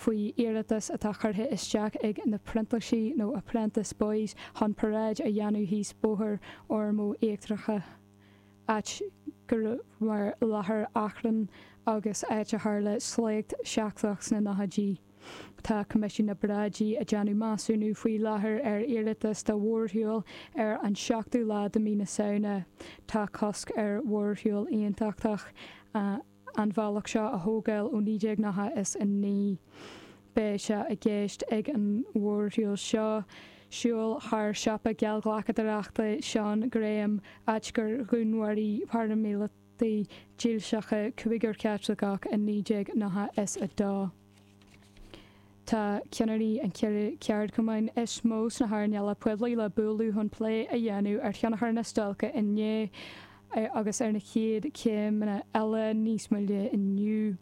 Faoi iarratas atá curtha isteach ag na Printlísigh nó Apprentice Boys chun paráid a dhéanamh thíos Bóthar Ormeau Íochtarach, áit go raibh mar láthair achrainn agus áit a tharla sléacht seicteach sna nóchaidí. Tá Coimisiún na bParáidí ag déanamh measúnú faoi láthair ar iarratas do mhórshiúl ar an 7ú lá de mí na Samhna. Tá cosc ar mhórshiúl aontachtach an bhealach seo a thógáil ó 1999. Beidh sé i gceist ag an mhórshiúl seo siúl thar siopa geallghlacadóireachta Sean Graham, áit gur dhúnmharaigh paraimíleataigh dílseacha cúigear Caitliceach i 1992. Tá ceannairí an cheithre cheardchumainn is mó sna hearnála poiblí le bualadh chun plé a dhéanamh ar thionchar na stailce inné agus ar na chéad chéimeanna eile níos moille inniu.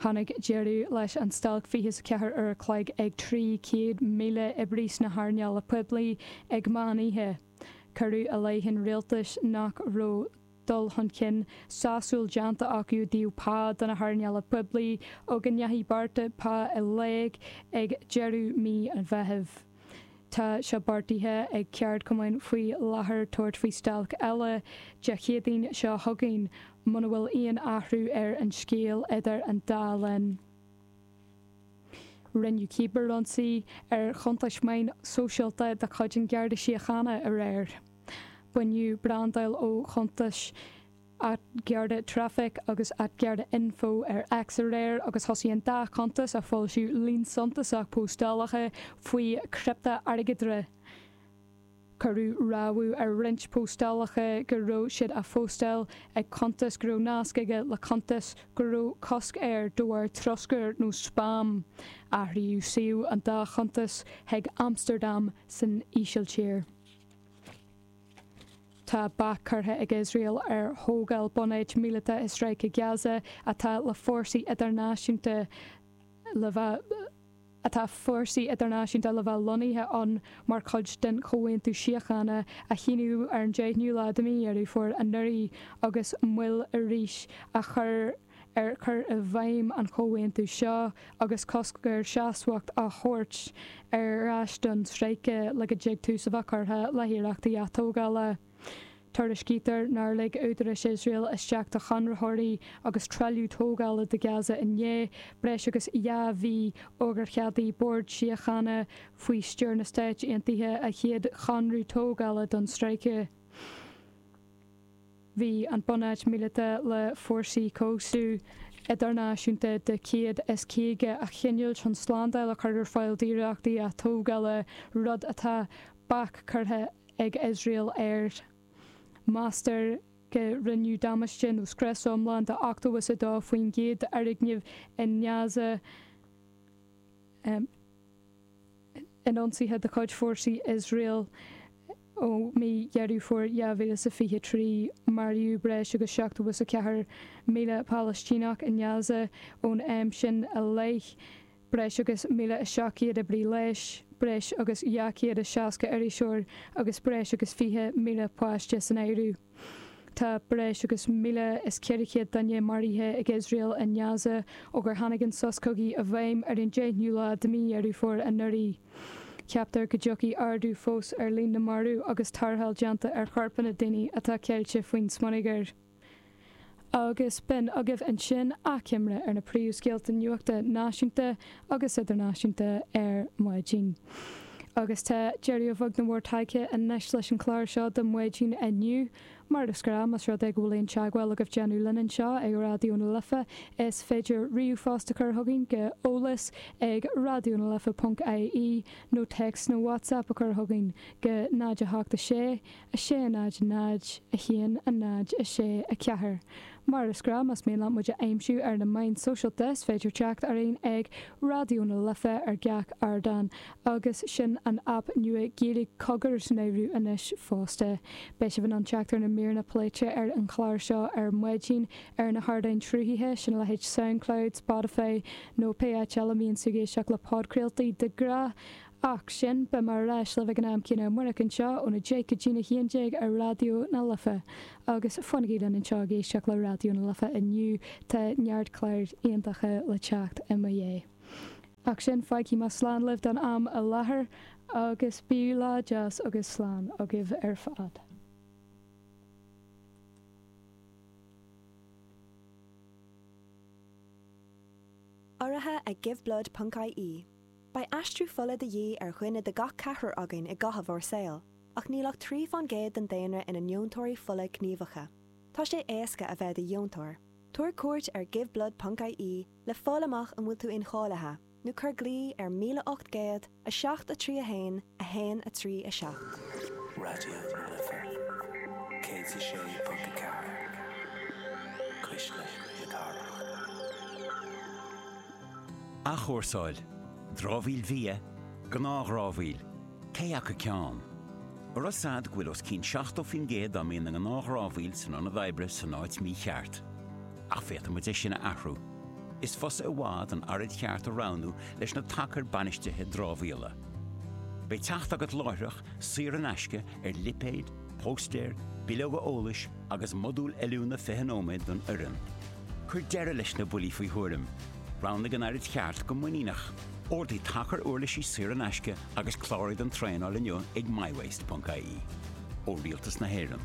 Tháinig deireadh leis an stailc 24 uair a chloig ag 300,000 oibrí sna hearnála poiblí ag meán oíche. Cuireadh i leith an rialtais nach raibh dul chun cinn sásúil déanta acu i dtaobh pá do na hearnála poiblí ó go ndeachaigh bearta pá i léig ag deireadh mí an Mheithimh. Tá sé beartaithe ag ceardchumainn faoi láthair tabhairt faoi stailc eile Dé Céadaoin seo chugainn muna bhfuil aon athrú ar an scéal idir an dá linn. Rinneadh cíbearionsaí ar chuntais meáin sóisialta de chuid an Gharda Síochána aréir. Baineadh brandáil ó chuntais @GardaTraffic agus @GardaInfo ar X aréir agus thosaigh an dá chuntas a foilsiú líon suntasach póstálacha faoi chriptea-airgeadra. Cuireadh rabhadh ar roinnt póstálacha go raibh siad á phóstáil ag cuntas go raibh nasc aige le cuntas go raibh cosc air de bharr troscair nó spam. Athraíodh suíomh an dá chuntas chuig Amstardam san Ísiltír. Tá bac curtha ag Iosrael ar thógáil bunáit míleata i Stráice Gaza atá le fórsaí idirnáisiúnta le bheith atá fórsaí idirnáisiúnta le bheith lonnaithe ann mar chuid den chomhaontú síochána a shíníodh ar an 10ú lá de mhí Dheireadh Fómhair anuraidh agus moill arís á chur ar chur i bhfeidhm an chomhaontú seo agus cosc ar seasmhacht á thabhairt ar ais don stráice le go dtig tús a bheith curtha le hiarrachtaí atógála. Tuairiscítear nár lig údaráis Iosrael isteach do chonraitheoirí agus trealamh tógála do Gaza inné, breis agus 2 mhí ó gur cheadaigh Bord Síochána faoi stiúir na Stáit Aontaithe a chéad chonradh tógála don stráice. Bhí an bunáit míleata le fórsaí cobhsú idirnáisiúnta de 150 a chinniúint chun slándáil a chur ar fáil d'iarrachtaí atógála, rud atá bac curtha ag Iosrael air. Meastar go rinneadh damáiste nó scrios iomlán de 82% d'fhoirgnimh i nGaza. In ionsaithe de chuid fórsaí Iosrael ó mí Dheireadh Fómhair 2023, maraíodh breis agus 74,000 Palaistíneach i nGaza ón am sin i leith, breis agus 1,700 oibrí leighis, breis agus 260 iriseoir agus breis agus 20,000 páiste san áireamh. Tá breis agus 1,400 duine maraithe ag Iosrael i nGaza ó gur tháinig an sos cogaidh i bhfeidhm ar an 10ú lá de mhí Dheireadh Fómhair anuraidh. Ceaptar go dtiocfaidh ardú fós ar líon na marbh agus tarrtháil déanta ar chorpanna daoine atá ceilte faoin smionagar. Agus b'in agaibh ansin achoimre ar na príomhscéalta nuachta náisiúnta agus idirnáisiúnta ar maidin. Agus tá deireadh a bheag nó mór tagtha anois leis an chlár seo do maidin inniu. Mar is gnáth, más rud é go bhfuil aon teagmháil agaibh déanamh linn anseo ag Raidió na Life, is féidir ríomhphost a chur chugainn go eolas ag raidionalife ponc ie nó téacs nó WhatsApp a chur chugainn go 0 8 6 6 0 0 1 0 6 4. Mar is gnáth, más mian leat muid a aimsiú ar na meáin sóisialta, is féidir teacht orainn ag Raidió na Life ar gach ardán, agus sin an aip nua Gaeilge Cogar san áireamh anois fosta. Beidh sibh in ann teacht ar na míreanna pléite ar an chlár seo ar maidin ar na hardáin sruthaithe, sin a leithéid Soundcloud, Spotify nó pé áit eile a mbíonn tú ag éisteacht le podchraoltaí de ghnáth. Ach sin, beidh mé ar ais libh ag an am céanna amárach anseo óna 10 go dtína 11 ar Raidió na Life. Agus fanaigí linn anseo ag éisteacht le Raidió na Life inniu, tá neart cláir iontacha le teacht i mo dhiaidh. Ach sin, fágfaidh mé slán libh don am i láthair agus bíodh lá deas agus slán agaibh ar fad. Urraithe ag Giveblood ponc ie. Beidh aistriú fola de dhíth ar dhuine de gach ceathrar againn i gcaitheamh ár saoil, ach níl ach 3 fán gcéad den daonra ina ndeontóirí fola gníomhacha. Tá sé éasca a bheith i do dheontóir. Tabhair cuairt ar Giveblood ponc ie le fáil amach an bhfuil tú incháilithe, nó cuir glao ar 1800 7 3 1 1 3 7. Raidió na Life 106.4, Cuisle na Cathrach. Athchúrsáil, dramhaíl bhia, gnáthdhramhaíl, cé acu ceann? An raibh 'fhios a'd go bhfuil os cionn 70% dá mbíonn i ngnáthdhramhaíl san ionad oibre san áit mícheart? Ach féadfaidh muid é sin a athrú. Is fusa i bhfad an araid cheart a roghnú leis na tacair bainistithe dramhaíola. Beidh teacht agat láithreach, saor in aisce, ar lipéid, póstaeir, bileoga eolais agus modúl oiliúna 20 nóiméad don fhoireann. Cuir deireadh leis na buillí faoi thuairim. Roghnaigh an araid cheart go muiníneach. Ordaigh tacar uirlisí saor in aisce agus cláraigh don traenáil inniu ag mywaste.ie. Ó Rialtas na hÉireann.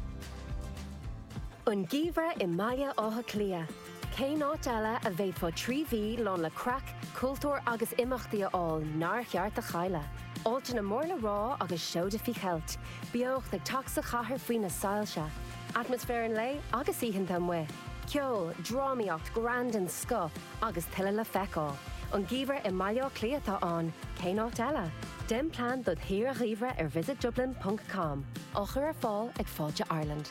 An geimhreadh i mBaile Átha Cliath. Cén áit eile a bhféadfá 3 mhí lán le craic, cultúr agus imeachtaí a fháil nár cheart a chailleadh? Áiteanna mór le rá agus seoda faoi cheilt, beocht ag teacht sa chathair faoi na soilse, atmaisféar an lae agus oícheanta amuigh, ceol, drámaíocht, greann den scoth agus tuilleadh le feiceáil. An geimhreadh i mBaile Átha Cliath atá ann, cén áit eile? Déan plean dod shaoire gheimhridh ar visitdublin ponc com, á chur ar fáil ag Fáilte Ireland.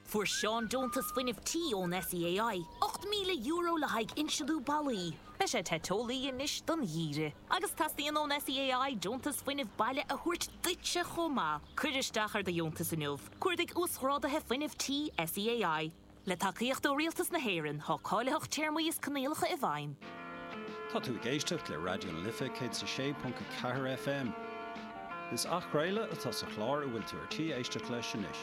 Fuair Seán deontas fuinnimh tí ón SEAI, €8,000 le haghaidh insealú ballaí. Beidh sé te teolaí anois don gheimhreadh. Agus teastaíonn ón SEAI deontas fuinnimh baile a thabhairt duitse chomh maith. Cuir isteach ar do dheontas inniu. Cuardaigh Uasghráduithe Fuinnimh Tí SEAI. Le tacaíocht ó Rialtas na hÉireann, tá cáilitheacht téarmaí is coinníollacha i bhfeidhm. Tá tú ag éisteacht le Raidió na Life 106.4 FM. Is athchraoladh atá sa chlár a bhfuil tú ar tí éisteacht leis anois.